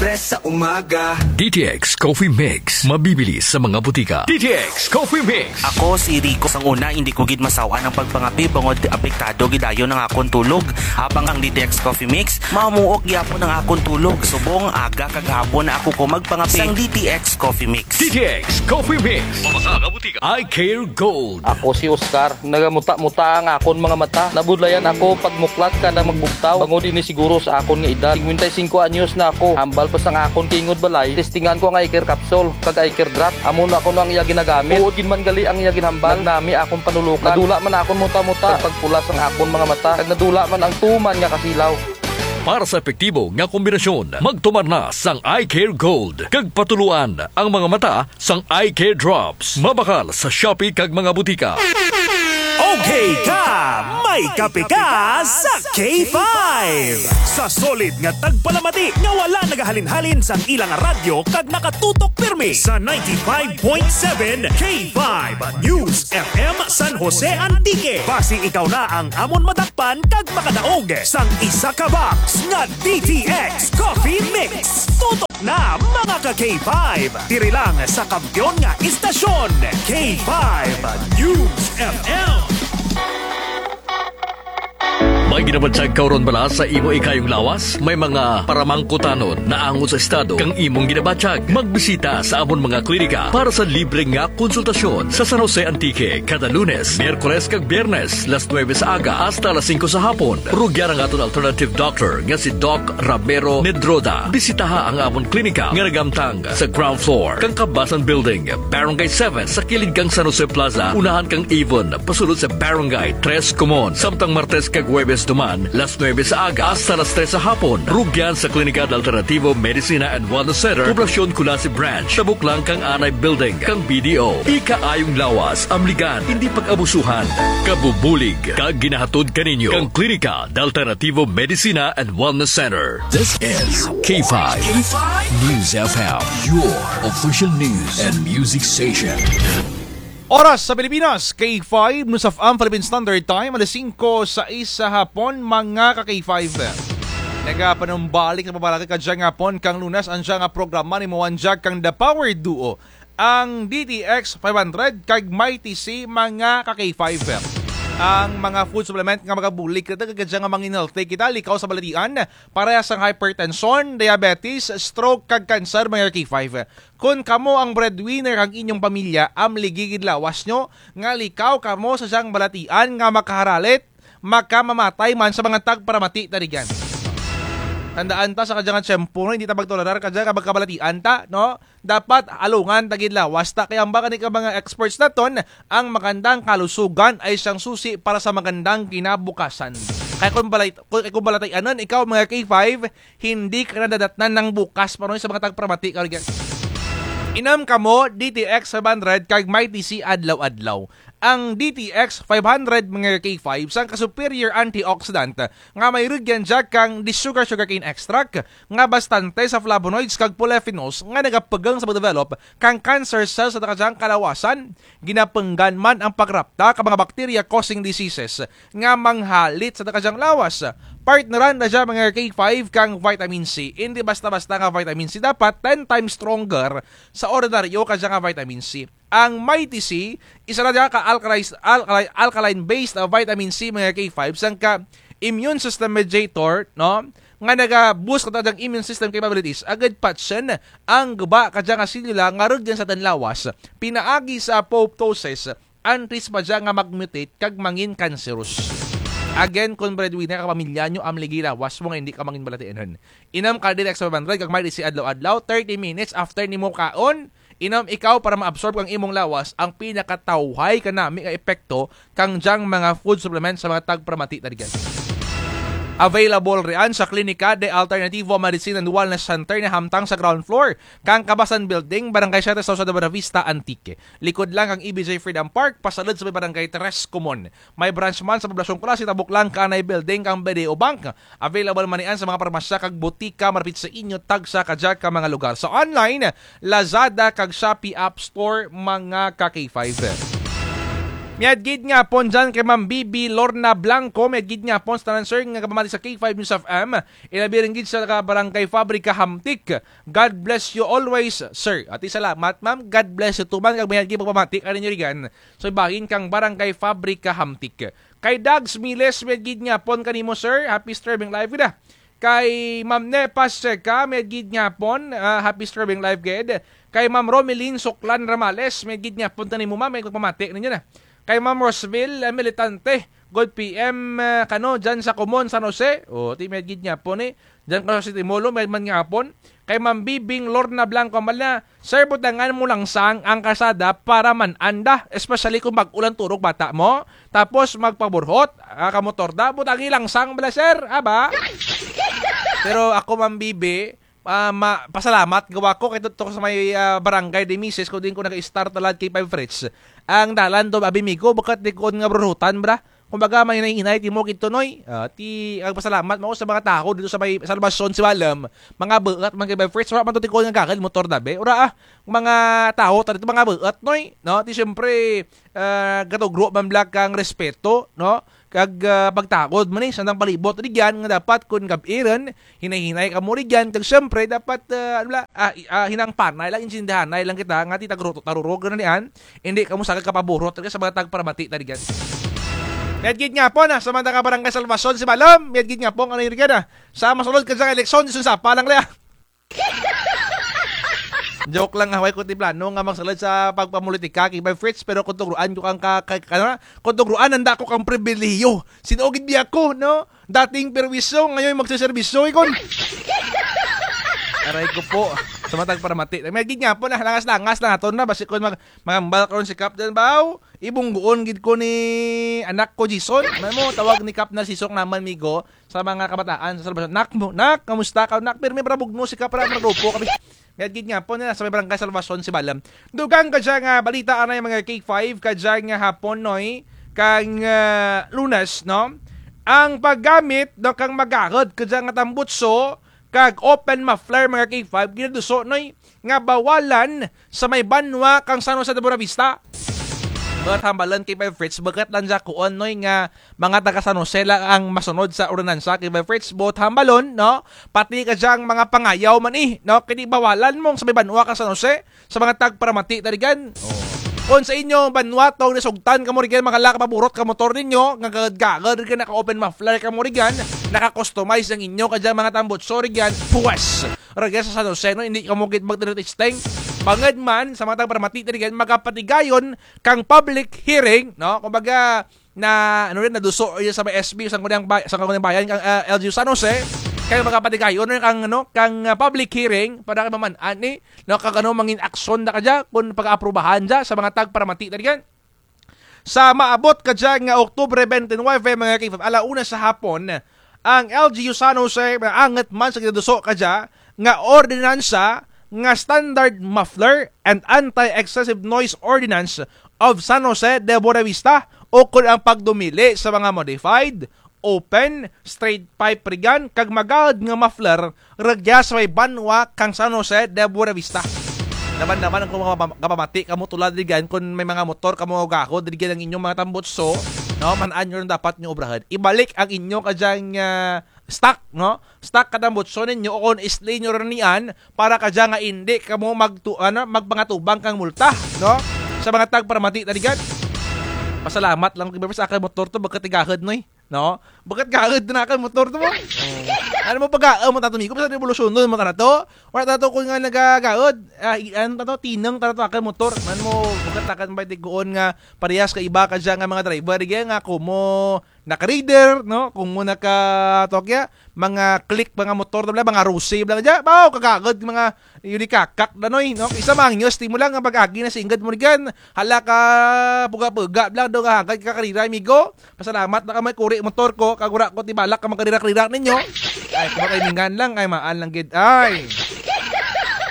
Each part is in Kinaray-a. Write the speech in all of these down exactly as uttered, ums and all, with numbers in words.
Press sa umaga. D T X Coffee Mix. Mabibili sa mga butika. D T X Coffee Mix. Ako si Rico. Sang una, hindi ko gid masaw-an ang pagpangape bangod apektado gid dayon ang akon tulog. Habang ang D T X Coffee Mix, mamuok gyapon ang akon tulog. Subong aga kag hapon na ako ko magpangape. Sang D T X Coffee Mix. D T X Coffee Mix. Mabasa nga butika. Eye Care Gold. Ako si Oscar. Nagamuta-muta ang akon mga mata. Nabudlayan ako pagmuklat kada magbugtaw. Bangod ini siguro sa akon nga edad. Singkwenta y singko anyos na ako. Hambal pa sang akon tingog balay. Testingan ko ang eye care capsule, kag eye care drop. Amo na kuno ang iya ginagamit. Tuod gid man gali ang iya ginhambal. Nagnami akon panulukan. Nadula man akon muta-muta. Kag pagpula sang akon mga mata. Kag nadula man ang tuman nga kasilaw. Para sa epektibo nga kombinasyon, magtumar na sang Eye Care Gold. Kag patuloan ang mga mata sang Eye Care Drops. Mabakal sa Shopee kag mga butika. Okay ka, may kape ka sa K five. Sa solid nga tagpalamati nga wala nagahalin-halin sang ilang radyo kag nakatutok pirmi sa ninety-five point seven K five News F M San Jose Antique. Basi ikaw na ang amon madakpan kag makadaog sang isa ka box nga D T X Coffee Mix. Tutok na, mga ka K five. Diri lang sa kampiyon nga istasyon, K five News F M. May ginabatyag ka ron bala sa imo ikayong lawas? May mga paramangkutanon naangot sa estado kang imong ginabatyag? Magbisita sa amon mga klinika para sa libre nga konsultasyon sa San Jose Antique kada Lunes, Miyerkules kag Biyernes, las nuebe sa aga hasta las singko sa hapon. Rugyan ang aton alternative doctor nga si Doc Ramiro Medroda. Bisitaha ang amon klinika nga nagamtang sa ground floor kang Kabasan Building, Barangay seven, sa kilid kang San Jose Plaza, unahan kang Avon, pasulod sa Barangay Tres Comon. Samtang Martes kag Huwebes duman, las nuebe sa aga hasta las tres sa hapon. Rugyan sa Klinika de Alternativo Medicina and Wellness Center, Poblacion Culasi Branch, tabok lang kang Anay Building kang B D O. Ikaayong lawas, amligan, indi pag-abusuhan. Kabubulig kag ginahatod kaninyo kang Klinika de Alternativo Medicina and Wellness Center. This is K five News F M, your official news and music station. Oras sa Pilipinas, K five, News F M Philippine Standard Time, alas singko sais sa hapon, mga ka K five. Nagapanumbalik na pamalakat kadya nga hapon kang Lunes, ang dya nga programa ni Moanjak kang The Power Duo. Ang D T X five hundred kag Mighty C, mga ka K five. Ang mga food supplement nga magabulig kita, kadya nga mangin-healthy kita, likaw sa balatian, parehas ang hypertension, diabetes, stroke, kag cancer, mga ka K five. Kon kamo ang breadwinner kang inyong pamilya, amligi gid lawas nyo, nga likaw kamo sa dyang balatian nga makaharalit, makamamatay man sa mga tagparamati ta rugyan. Tandaan ta sa kadya nga tiyempo, no, hindi ta magtolerar kadya nga magkabalatian ta, no? Dapat alungan ta gid lawas ta, kay amba kani ka mga experts naton, ang magandang kalusugan ay siyang susi para sa magandang kinabukasan. Kay kon balay-, kon, kay kon balatianon ikaw, mga K five, hindi ka na dadatnan ng bukas, panoy sa mga tagparamati ka rugyan. Inom kamo D T X five hundred kag Mighty C adlaw-adlaw. Ang D T X five hundred, mga K five, sangka superior antioxidant nga may rugyan dya kang the sugar sugarcane extract nga bastante sa flavonoids kag polyphenols nga nagapugong sa pagdevelop kang cancer cells sa kadyang kalawasan. Ginapunggan man ang pagrapta ka mga bacteria causing diseases nga manghalit sa kadyang lawas. Partneran na dya, mga K five, kang vitamin C. Hindi basta-basta nga vitamin C, dapat ten times stronger sa ordinaryo kadya nga vitamin C. Ang Mighty C, isa na dya ka alkali-, alkali-, alkaline-based, ah, vitamin C, mga K five, sangka immune system mediator, no? Nga naga-boost ka dyang immune system capabilities, agud patyon ang guba kadya nga selula nga rugyan sa atun lawas, pinaagi sa apoptosis, antes pa dya nga mag-mutate kag mangin cancerous. Again, kon breadwinner ka pamilya nyo, amligi lawas mo nga hindi ka mangin balatianon. Inom ka D T X five hundred kag Mighty C adlaw-adlaw, thirty minutes after nimo kaon, inom ikaw para ma-absorb kang imong lawas ang pinakatawhay kanami nga epekto kang dyang mga food supplement sa mga tagparamati ta rugyan. Available riyan sa Klinika de Alternativo Medicine and Wellness Center na hamtang sa ground floor kang Kabasan Building, Barangay Siete, Sausa de Buenavista, Antique. Likod lang kang E B J Freedom Park, pasulod sa may Barangay Tres Comon. May branch man sa Poblacion Culasi, tabok lang ka Anay Building kang B D O Bank. Available man riyan sa mga parmasya kag butika malapit sa inyo, tagsa kadya ka mga lugar. Sa online, Lazada kag Shopee App Store, mga ka K five. Mayad gid nga hapon dyan kay Ma'am Bibi Lorna Blanco, mayad gid nga hapon sa tanan, sir, nga gapamati sa K five News F M. Ilabi run gid sa taga Barangay Fabrica, Hamtic. God bless you always, sir. Ati salamat, ma'am. God bless you too, man. Kag mayad gid pagpamati kaninyo rugyan. So, bahin kang Barangay Fabrica, Hamtic. Kay Dags Miles, mayad gid nga hapon kanimo, sir. Happy streaming live gid, ah. Kay Ma'am Nepa Seca, mayad gid nga hapon, ah, happy streaming live gid. Kay Ma'am Romeline Suklan Ramales, mayad gid nga hapon kanimo, ma'am, may pagpamati ninyo na. Kay Ma'am Roseville, ah, Militante, good P M, ah, kano, dyan sa Comon, San Jose. O, ti mayad gid nga hapon, eh. Dyan ka sa City Mall, mayad man nga hapon. Kay Ma'am Bibing Lorna Blanco, mala, Sir, butangan mo langsang ang kalsada para man-an da, especially kung bag-o lang turog bata mo. Tapos magpaburhot, ah, kamotor da, butangi langsang bala, sir, aba? Pero ako, Ma'am Bibi, ah, ma-, pasalamat gawa ko kay tudto ko sa may, ah, barangay di misis ko, diin ko naga-start talad kay Five Fritz. Ang dalan do, abi, migo, bukut di ko nga burhutan, bra. Kumbaga, mahinay-hinay, ti mo gid to, Noy. Ah, ti, nagpasalamat man ko sa mga tawo dito sa may Salvacion, Sibalom. Mga buot man kay Five Fritz, wara man to ti ko nga gagad, motor da, be. Wara, ah, mga tawo ta dito, mga buot, Noy. No? Ti, siyempre, ah, gatugro man bala kang respeto, no? Kag, ah, pagtagod man, eh, sa andang palibot, rugyan, nga dapat, kun gab-i run, hinay-hinay kamo rugyan, kag siyempre, dapat, ah, ano bala, ah, i-, ah, hinang panay lang, intindihanay lang kita, nga ti tagro-, tarurog na niyan, indi kamo sagad kapaburhot, rugyan, sa mga tagparamati, ta rugyan. Mayad gid nga hapon, ah, sa mga taga Barangay Salvacion, Sibalom, mayad gid nga hapon, ano rugyan, ah, sa masulod kadya nga eleksyon, disun sapa lang, le, ah. Joke lang, ha, way ko ti plano nga magsulod sa pagpamulitika kay Bay Fritz, pero kun tugroan ko kang ka-, ka-, ano, kun tugroan nanda ko kang pribilehiyo. Sin-o gid biya ko, no? Dating perwisyo, ngayon magseserbisyo, ikon. Aray ko po. Sa mga tagparamati. Mayad gid nga hapon, ah, langas-langas lang aton na, basi kun mag-, mangambal karon si Kap dyan, baw. Ibungguon gid ko ni anak ko, Jason. Man mo, tawag ni Kap na si Sok naman, migo. Sa mga kabataan sa Salvacion. Nak mo, nak, kamusta ka? Nak, pirmi para bugno si Kap, para magrupo kami. Mayad gid nga hapon, na sa may Barangay Salvacion, Sibalom. Dugang kadya nga balita anay, mga K five, kadya nga hapon, Noy, kang, ah, Lunes, no? Ang paggamit, no, kang magahod kadya nga tambutso, kag open muffler, mga K five, ginaduso, Noy, nga bawalan sa may banwa kang San Jose de Buenavista. Buot hambalon kay Bay Fritz, bukut lang dya kuon, Noy, nga mga taga San Jose lang ang masunod sa ordinansa kay Bay Fritz, buot hambalon, no? Pati kadya ang mga pangayaw man, eh, no? Kay ti bawalan mo sa may banwa kang San Jose, sa mga tagparamati ta rugyan. Oh. Kun sa inyo banwa tong nasugtan kamo rugyan, mga laka paburot ka motor ninyo, nga gagad-gagad rugyan, naka-open muffler kamo rugyan, naka-customize ang inyo kadya mga tambutso rugyan, puwes. Rugya sa San Jose, no, indi kamo gid magtiritesting. Bangud man, sa mga tagparamati ta rugyan, magapatigayon kang public hearing, no? Kumbaga, na, ano rin, naduso rin sa may S B, Sangguniang Bay-, Sangguniang Bayan, kang, ah, L G U San Jose. Kay magapatigayon rin kang, ano, kang, ah, public hearing, para kay maman-an ni, no, kag ano, mangin aksyon da kadya, kun pag-aaprubahan dya, sa mga tagparamati ta rugyan. Sa maabot kadya nga Oktubre twenty-nine, mga K five, ala una sa hapon, ang L G U San Jose maangut man sa ginaduso kadya nga ordinansa nga Standard Muffler and Anti-Excessive Noise Ordinance of San Jose de Buenavista, ukon ang pagdumili sa mga modified open, straight pipe rugyan, kag magahod nga muffler, rugya sa may banwa kang San Jose de Buenavista. Naman-naman ang mga gapamati kamo tulad rugyan, kun may mga motor kamo gahod rugyan ang inyong mga tambutso, no, man-an nyo rin dapat nyo obrahun. Ibalik ang inyo kadyang, ah, stock, no? Stock ka tambutso ninyo, o kun isli nyo rin niyan, para kadya nga indi kamo magtu-, ano, magpangatubang kang multa, no? Sa mga tagparamati ta rugyan. Pasalamat lang, di ba, sa akun motor to, bukut ti gahod, Noy. No? Bukut gahod na kang motor to mo. Oh. Ano mo pag-aamot nato, migo? Basta revolusyonon mo ka na to. Wara ta to kun nga nagagahod. Ah, i-, ano ta to? Tinang ta to akun motor. Man mo, bukut ta kang bay tiguon nga parehas ka iba kadya nga mga driver. Kaya nga kumo naka-rider, no? Kumo naka-, to kaya, mga click, mga motor, bala, mga Rusi, bala kadya. Baw, kagagod, mga Yuli kakak da, Noy, no? Isa mangyo, ti mo lang ang pag-agi na singgod mo rugyan. Hala ka, puga-puga lang daw kahagad ka karira, amigo. Pasalamat na ka may kuri motor ko, kag wara ko ti balak ka magkarira-karira ninyo. Ay, kumakaimingan lang, ay, maan lang gid. Ay.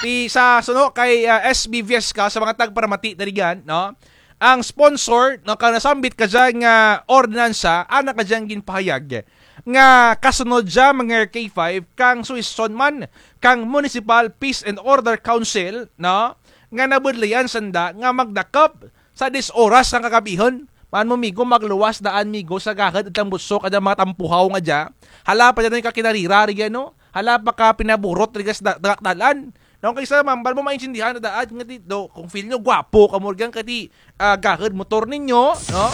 Ti sa suno kay, ah, S B Viesca, sa mga tagparamati na rugyan, no? Ang sponsor, no, kang nasambit kadya nga ordinansa, ana kadyang ginpahayag nga kasunod dya, mga K five, kang suhestyon man kang Municipal Peace and Order Council, no, nga nabudlayan sanda nga magdakop sa diyes oras kang kagabihon. Ano, migo, magluwas daan, migo, sa gahod it tambutso kadya mga tampuhaw nga dya. Hala pa dya, no, ka kinarira rugyan, no? Hala pa ka pinaburot rugyan sa da-, dagak dalan. No, kaysa mambal mo maintindihan na daan nga ti, do, kung feel nyo gwapo kamo rugyan kati, ah, gahod motor ninyo, no?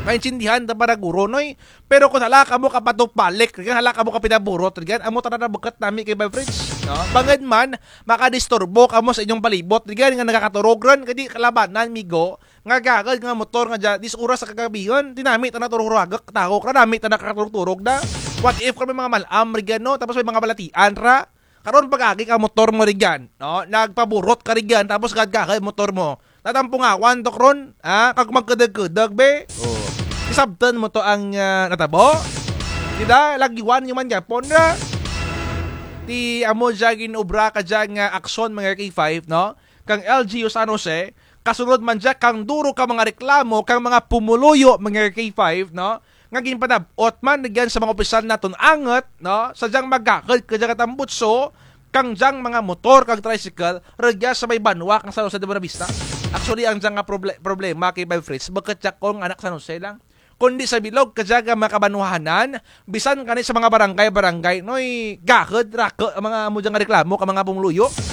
Maintindihan ta para guro, noy. Pero kung hala kamo ka patupalik rugyan, hala kamo ka pinaburot rugyan, amo tana na bukut nami kay Bay Fritz, no? Bangud man makadisturbo kamo sa inyong palibot rugyan nga nagakaturog run, kadi kalabanan, migo, nga gagad nga motor nga dya, diyes oras sa kagabihon, ti nami tana turog-turog, tahok ra, nami tana katurog-turog na. What if kami mga mal-am rugyan, no? Tapos may mga balatian ra. Karon pag-agi ka motor mo rugyan, no? Nagpaburot ka rugyan, tapos gagad gagad motor mo. Tatampungawan to karon, ha? Kag magkudug-kudug, be. Oh. Isabtan mo to ang, ah, natabo. Di da, lagiwan nyo man gyapon ra. Ti amo dya ginobra kadya nga aksyon, mga K five, no? Kang L G U San Jose, kasunod man dya kang duro ka mga reklamo kang mga pumuluyo, mga K five, no? Nga ginpanab-ot man rugyan sa mga opisyal natun angut, no? Sa dyang magakod kadya ka tambutso, kang dyang mga motor kag tricycle, rugya sa may banwa kang San Jose de Buenavista. Actually, ang dyang nga proble-, problema kay Bay Fritz, bukut dya kung anak San Jose lang. Kundi sa bilog kadya nga mga kabanwahanan, bisan kani sa mga barangay-barangay, noy, gakod, raku, ang mga amo dya nga reklamo kang mga pumuluyo.